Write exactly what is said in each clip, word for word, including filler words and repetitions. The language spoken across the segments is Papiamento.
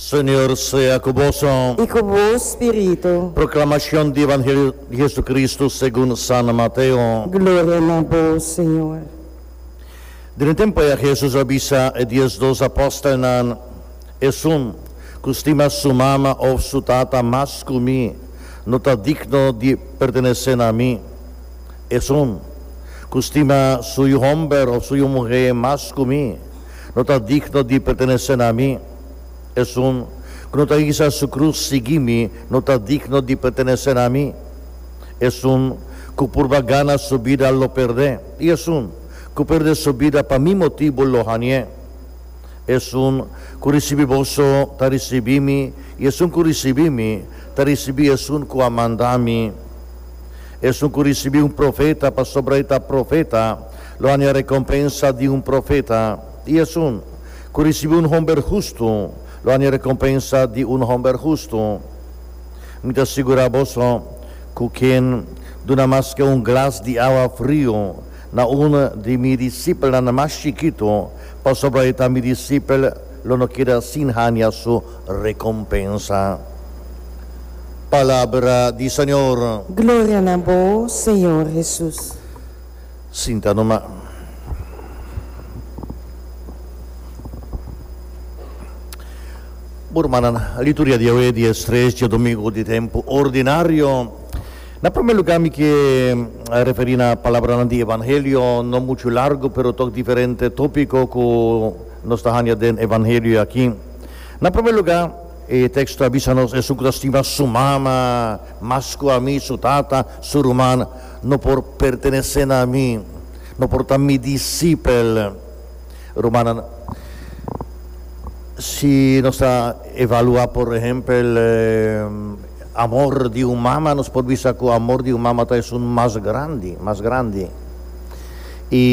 Señor sea ku boso. I ku bo spiritu. Proklamashon di Evangelio di Hesukristu segun San Mateo. Gloria na bo, Señor. Den e tempu ei Hesus a bisa e diesdos apòstelnan, Esun ku stima su mama òf su tata mas ku mi, no ta digno di pertenesé na mi. Esun ku stima su yu hòmber òf su yu muhé mas ku mi, no ta digno di pertenesé na mi. Esun ku no ta hisa su krus sigui mi, no ta digno di pertenesé na mi. Esun ku purba gana su bida lo pèrdè, i esun ku pèrdè su bida pa mi motibu lo hañ'é. Esun ku risibí boso ta risibí mi, i esun ku risibí mi ta risibí esun ku a manda mi. Esun ku risibí un profeta pasobra e ta profeta, lo haña rekompensa di un profeta, i esun ku risibí un hòmber hustu, lo haña rekompensa di un hòmber hustu. Mi ta sigurá boso ku ken duna maske un glas di awa friu na un di mi disipelnan mas chikitu, pasobra e ta mi disipel, lo no keda sin haña su rekompensa. Palabra di Señor. Gloria na bo, Señor Hesus. Sinta numa. Bo rumannan, liturgia di awe di es tres djadumingu di tempu ordinario. Na promé lugá mi ke referí na palabranan di Evangelio, no muchu largu pero tok diferente tópiko ku nos ta haña den Evangelio aki. Na promé lugá, e teksto a bisa nos, Esun ku ta stima su mama mas ku ami, su tata, su ruman, no por pertenesé na mi, no por ta mi disipel. Rumannan, si nos ta evaluá, por ehèmpel, amor di un mama, nos por bisa ku amor di un mama ta esun mas grandi, mas grandi. I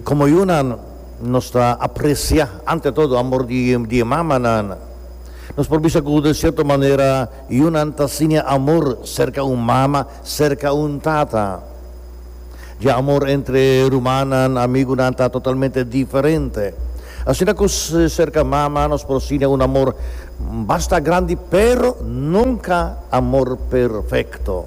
komo yunan nos ta apresiá ante todo amor di di e mamanan. Nos por bisa ku den sierto manera yunan ta siña amor serka un mama, serka un tata. Dje amor entre rumannan, amigunan ta totalmente diferente. Asina ku serka mama nos por siña un amor basta grandi pero nunka amor perfekto.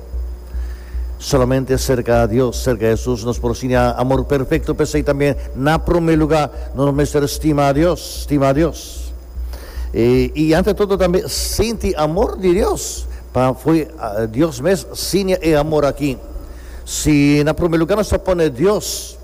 Solamente serka Dios, serka Hesus nos por siña amor perfekto, p'esei tambe na promé lugá nos mester stima Dios, stima Dios. I ante todo tambe sinti amor di Dios, pa fo'i Dios mes siña e amor aki. Si na promé lugá nos ta pone Dios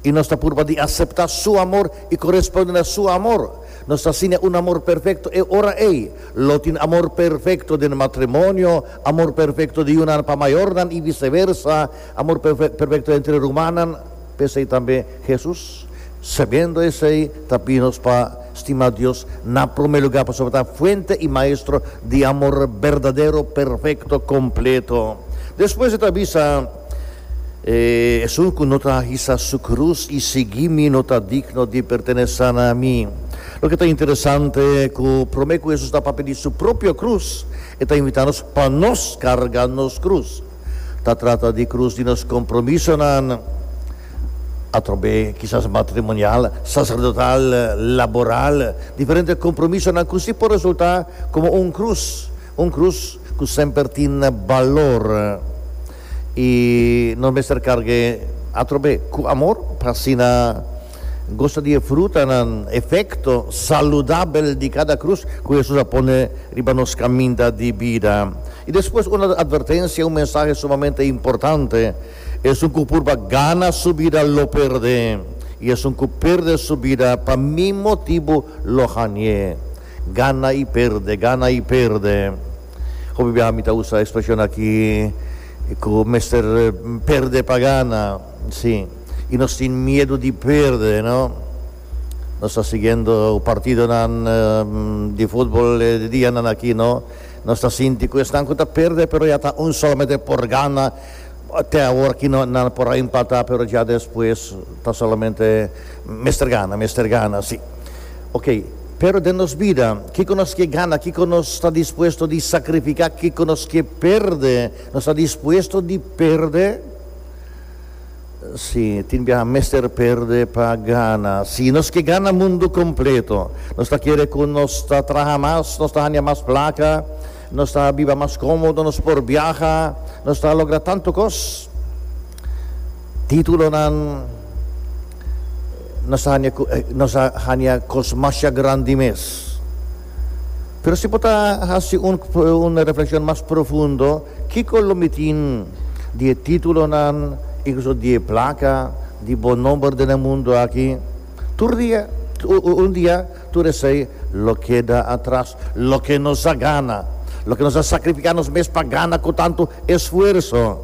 i nos ta purba di aseptá Su amor i koresponde na Su amor, nos ta siña un amor perfekto. E ora ei lo tin amor perfekto den matrimonio, amor perfekto di yunan pa mayornan i viseversa, amor perfekto entre rumannan. P'esei tambe Hesus, sabiendo esei, ta pidi nos pa stima Dios na promé lugá, pasobra ta fuente i maestro di amor berdadero, perfekto, kompleto. Despues e ta bisa. Esun ku no ta hisa su krus i sigui mi no ta digno di pertenesá na mi. Loke ta interesante ku promé ku Hesus ta papia di su propio krus, e ta invitá nos pa nos karga nos krus. Ta trata di krus di nos kompromisonan, atrobe kisas matrimonial, saserdotal, laboral, diferente kompromisonan ku si por resultá komo un krus, un krus ku semper tin balor. I nos mester karg'é atrobe ku amor pa asina gosa di e frutanan, efekto saludabel di kada krus ku Hesus a pone riba nos kaminda di bida. I despues un atvertensia, un mensahe sumamente importante, Esun ku purba gana su bida lo pèrdè, i esun ku pèrdè su bida pa mi motibu lo hañ'é. Gana i pèrdè, gana i pèrdè. Hopi biaha mi ta usa e ekspreshon aki ku mester pèrdè pa gana. Sí, i nos tin miedu di pèrdè, no? Nos ta siguiendo partidonan di futbol e dianan aki, no? Nos ta sinti ku esnan ku ta pèrdè pero ya ta un solamente por gana. Te awor aki no nan por a empatá pero ya despues ta solamente mester gana, mester gana, sí. Oke, pero den nos bida, kiko nos ke gana, kiko nos ta dispuesto di sakrifiká, kiko nos ke pèrdè, nos ta dispuesto di pèrdè? Si, tin biaha mester perde pa gana. Si nos ke gana mundu kompleto, nos ta kere ku nos ta traha mas, nos ta haña mas plaka, nos ta biba mas kómodo, nos por biaha, nos ta logra tantu kos. Títulonan, nos ta haña nos ta haña kos masha grandi mes. Pero si bo ta hasi un un reflekshon mas profundo, kiko lo mi tin di e títulonan, inkluso di e plaka, di bo nomber den e mundu aki? Tur dia, un dia, tur esei lo keda atras. Loke nos a gana, loke nos a sakrifiká nos mes pa gana ku tantu esfuerso.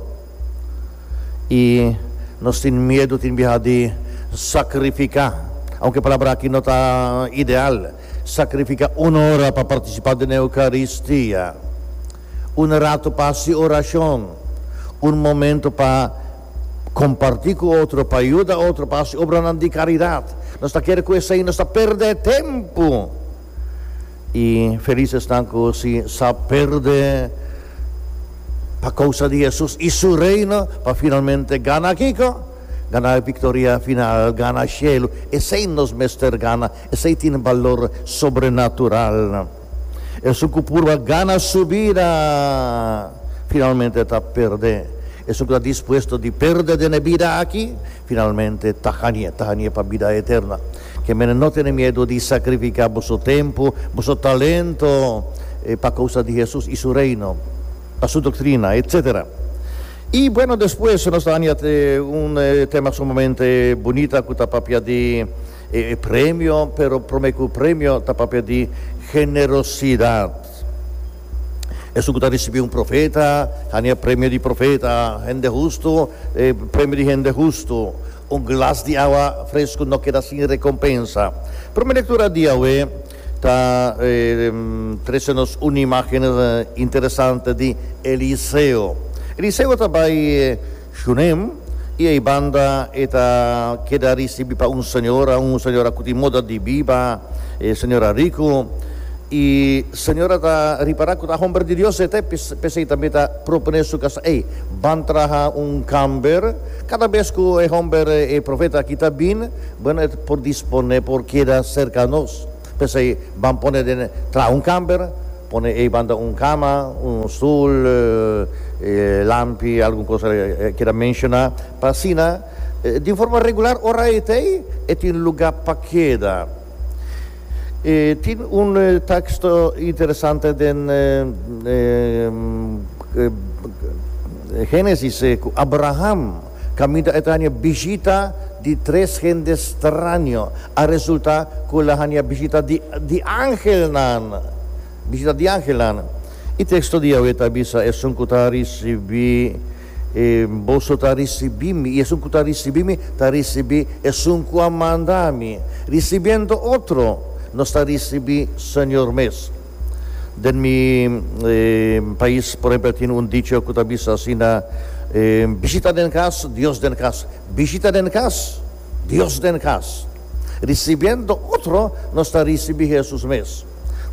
I nos tin miedu tin biaha di sakrifiká, aunke e palabra aki no ta ideal, sakrifiká un ora pa partisipá den Eukaristia, un ratu pa hasi orashon, un momento pa kompartí ku otro, pa yuda otro, pa hasi obranan di karidat. Nos ta kere ku esei nos ta pèrdè tempu. I felis esnan ku si sa pèrdè pa kousa di Hesus i su Reino, pa finalmente gana kiko? Gana e viktoria final, gana shelu. Esei nos mester gana, esei tin balor sobrenatural. Esun ku purba gana su bida, finalmente ta pèrdè. Esun ku ta dispuesto di pèrdè den e bida aki, finalmente ta hañ'é, ta hañ'é pa bida eterna. Ke mene no tene miedu di sakrifiká boso tempu, boso talento, pa kousa di Hesus i su Reino, pa su doktrina, etcetera. I bueno, despues nos ta haña un tema sumamente bunita ku ta papia di e premio, pero promé ku premio ta papia di generosidat. Esun ku ta risibí un profeta, haña premio di profeta, hende hustu, e premio di hende hustu. Un glas di awa fresku no keda sin rekompensa. Promé lektura di awe ta trese nos un imágen interesante di Eliseo. Eliseo ta bai Shunem i ei banda e ta keda risibí pa un señora, un señora ku tin moda di biba, e señora riku. I señora ta ripará ku ta homber di Dios e ta, p'esei tambe ta proponé su kasa, Ey, ban traha un kamber. Kada bes ku e homber, e profeta aki ta bin, bueno, e por disponé, por keda serka nos. P'esei ban pone den, traha un kamber, pone ey banda un kama, un stul, lampi, algun kos e keda menshoná, pa asina di un forma regular ora e ta ey, e tin lugá pa keda. E tin un teksto interesante den Génesis ku Abraham kaminda e ta haña bishita di tres hende straño. A resultá ku el a haña bishita di di angelnan, bishita di angelnan. E teksto di awe ta bisa, Esun ku ta risibí E boso ta risibí mi, i esun ku ta risibí mi ta risibí esun ku a manda mi. Risibiendo otro, nos ta risibí Señor mes. Den mi pais, por ehempel, tin un dicho ku ta bisa asina, Bishita den kas, Dios den kas. Bishita den kas, Dios den kas. Risibiendo otro, nos ta risibí Hesus mes.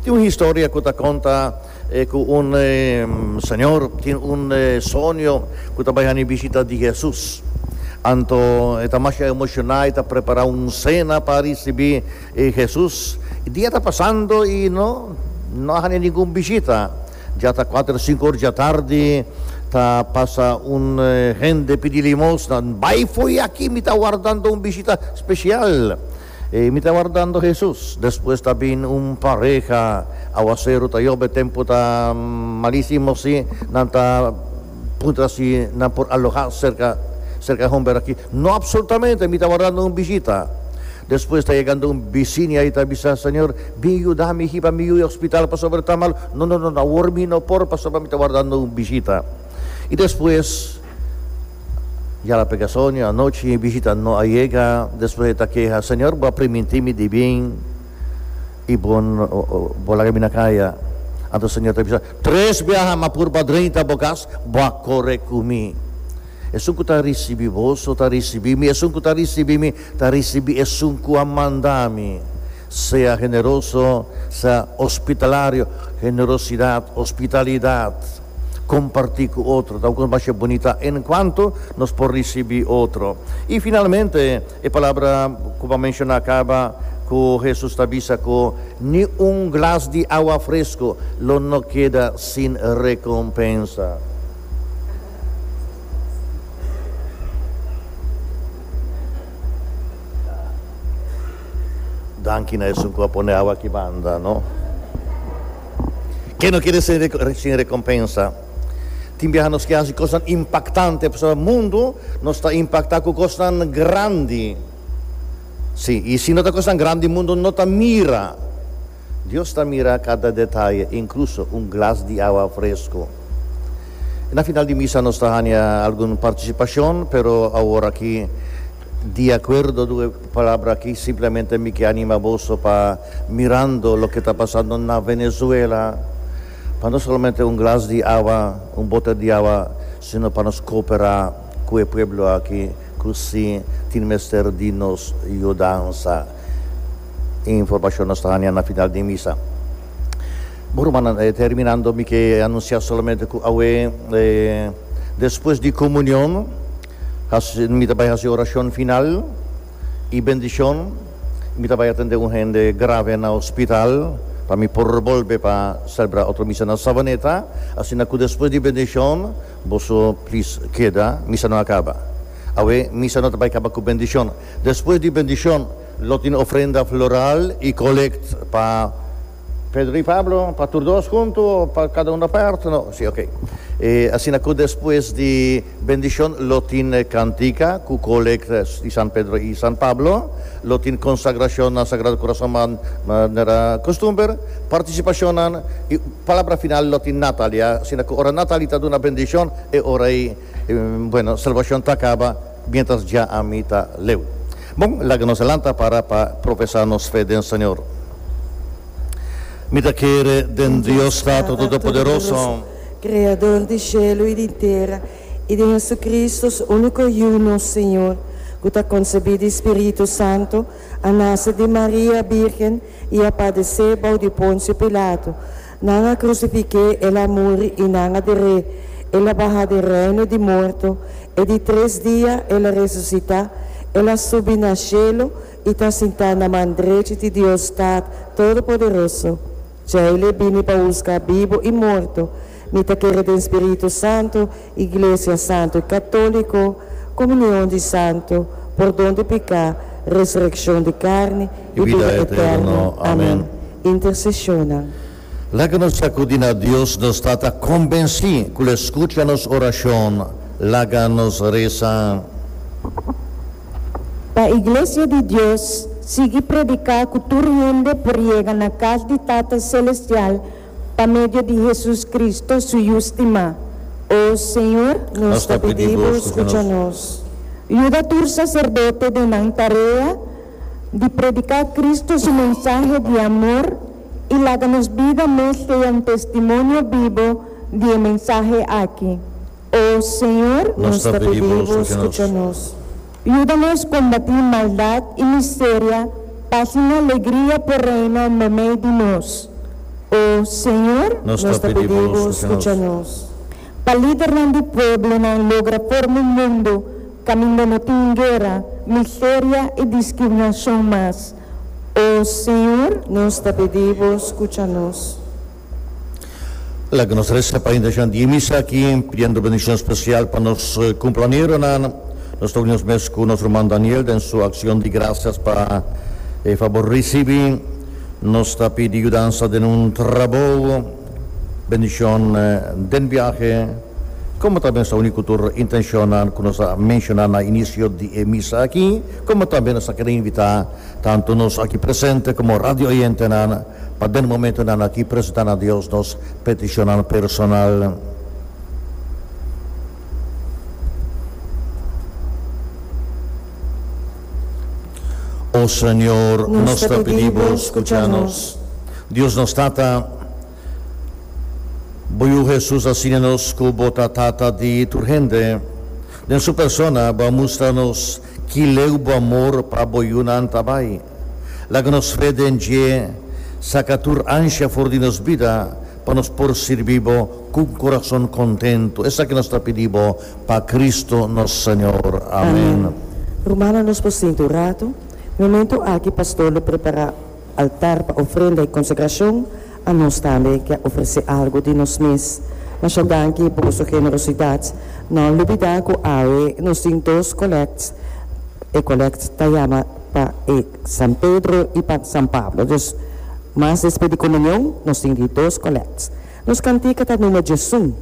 Tin un historia ku ta konta ku un señor tin un soño ku ta bai hani bishita di Hesus. Anto e ta masha emoshoná, e ta prepará un sena pa risibí Hesus. E dia ta pasando i no no a hani ningun bishita. Ya ta kuater sinku or djatardi, ta pasa un hende pidi limosna. Bai fo'i aki, mi ta wardando un bishita spesial. E mi ta wardando Hesus. Despues ta bin un pareha. Awaseru ta yobe, tempu ta malisimo si nan ta puntra si nan por aloha serka serka e homber aki. No absolutamente, mi ta wardando un bishita. Despues ta yegando un bisiña i ta bisa, Señor, bin yuda mi hiba mi yu e hospital pasobra e ta mal. No, no, no, awor mi no por pasobra mi ta wardando un bishita. I despues. Ya la pega soño anochi e bishita no a yega, despues e ta keha, Señor bo a primintí mi di bin i bo bo laga mi na kaya. Anto Señor ta bisa, Tres biaha m'a purba drenta bo kas, bo a kore ku mi. Esun ku ta risibí boso ta risibí mi, esun ku ta risibí mi ta risibí esun ku a manda mi. Sea generoso, sea hospitalario, generosidat, hospitalidat. Kompartí ku otro ta un kos masha bunita en kuanto nos por risibí otro. I finalmente e palabra ku bo a menshoná kaba ku Hesus ta bisa ku ni un glas di awa fresku lo no keda sin rekompensa. Danki na esun ku a pone awa aki banda, no? Ke no keda sin rekompensa. Tin biaha nos ke hasi kosnan impaktante, pasobra mundu nos ta impaktá ku kosnan grandi. Sí, i si no ta kosnan grandi mundu no ta mira. Dios ta mira kada detaye, inkluso un glas di awa fresku. Na final di misa nos ta haña algun partisipashon, pero awor aki di akuerdo du e palabra aki simplemente mi ke anima boso pa mirando loke ta pasando na Venezuela, pa no solamente un glas di awa, un boter di awa, sino pa nos koopera ku e pueblo aki ku si tin mester di nos yudansa. E informashon nos ta haña na final di misa. Bo rumannan, terminando mi ke anunsiá solamente ku awe despues di komunion hasi mi ta bai hasi orashon final i bendishon. Mi ta bai atendé un hende grave na hospital pa mi por bolbe pa selebrá otro misa na Savaneta. Asina ku despues di bendishon boso plis keda, misa no a kaba. Awe misa no ta bai kaba ku bendishon. Despues di bendishon lo tin ofrenda floral i kolekt pa Pedro i Pablo, pa tur dos huntu o pa kada un apart? No, si, ok. E asina ku despues di bendishon lo tin kantika ku kolekt di San Pedro i San Pablo, lo tin konsagrashon na Sagrado Kurason manera kustumber, partisipashonnan i palabra final lo tin Natalia, asina ku ora Natalie ta duna bendishon e ora ei, bueno, salbashon ta kaba mientras dja ami ta leu. Bon, laga nos lanta para pa profesá nos fe den Señor. Mi ta kere den Dios Tata Todopoderoso. Kreador di shelu i di tera, i di Jesucristo, su úniko Yu, nos Señor, ku ta konsebí di Spiritu Santu, a nase di Maria Bírgen i a padesé bou di Ponsio Pilato. Nan a krusifik'é, el a muri i nan a der'é. El a baha den reino di morto, e di tres dia el a resusitá, el a subi na shelu i ta sintá na man drechi di Dios Tat Todopoderoso. Djei l'e bini pa husga bibu i morto. Mi ta kere den Spiritu Santu, Iglesia Santu i Katóliko, komunion di santu, pordon di piká, resurekshon di karni i i bida bida eterno. eterno. Amèn. Amèn. Interseshonnan. Laga nos akudí na Dios nos Tata konbensí ku lo e skucha nos orashon. Laga nos resa. Pa Iglesia di Dios sigui prediká ku tur hende por yega na kas di Tata Selestial pa medio di Hesus Cristo, su Yu stimá. O Señor. Nos Nos ta ta pidi pidi bo, bo, skucha skucha nos. nos. Yuda tur saserdote den nan tarea di prediká Cristo su mensahe di amor i laga nos bida mes sea un testimonio bibo di e mensahe aki. O Señor. Nos Nos ta ta pidi pidi bo, bo, skucha skucha nos. nos. Yuda nos kombatí maldat i miseria pa asina alegria por reina meimei di nos. O Señor. Nos Nos ta ta pidi pidi bo, bo, skucha skucha nos. nos. Pa lidernan di pueblonan logra forma un mundu kaminda no tin guera, miseria i diskriminashon mas. O Señor. Nos ta pidi bo, skucha nos. Laga nos resa pa intenshon di e misa aki, pidiendo bendishon spesial pa nos kumplañeronan. Nos ta uni nos mes ku nos ruman Daniel den su akshon di grasias pa e fabor risibí. Nos ta pidi yudansa den un trabou, bendishon den biahe, komo tambe nos ta uni ku tur intenshonnan ku nos a menshoná na inisio di e misa aki, komo tambe nos ta kere invitá tantu nos aki presente komo radio oyentenan pa den momentonan aki presentá na Dios nos petishonnan personal. O Señor, Nos nos ta ta pidi pidi bo, bo, skucha skucha nos. nos. Dios nos Tata, bo Yu Hesus a siña nos ku bo ta Tata di tur hende. Den su persona bo a mustra nos ki leu bo amor pa bo yunan ta bai. Laga nos fe den dje saka tur ansha for di nos bida, pa nos por sirbi Bo ku kurason kontentu. Esaki nos ta pidi Bo pa Kristu nos Señor. Amèn. Rumannan, nos por sinta un ratu. Momento aki pastor lo prepará altar pa ofrenda i konsagrashon. Anos tambe ke ofresé algu di nos mes. Masha danki pa boso generosidat. No lubidá ku awe nos tin dos kolèkt. E kolèkt ta yama pa e San Pedro i pa San Pablo. Dus mas despues di komunion, nos tin dos kolèkt. Nos kantika ta number diesun.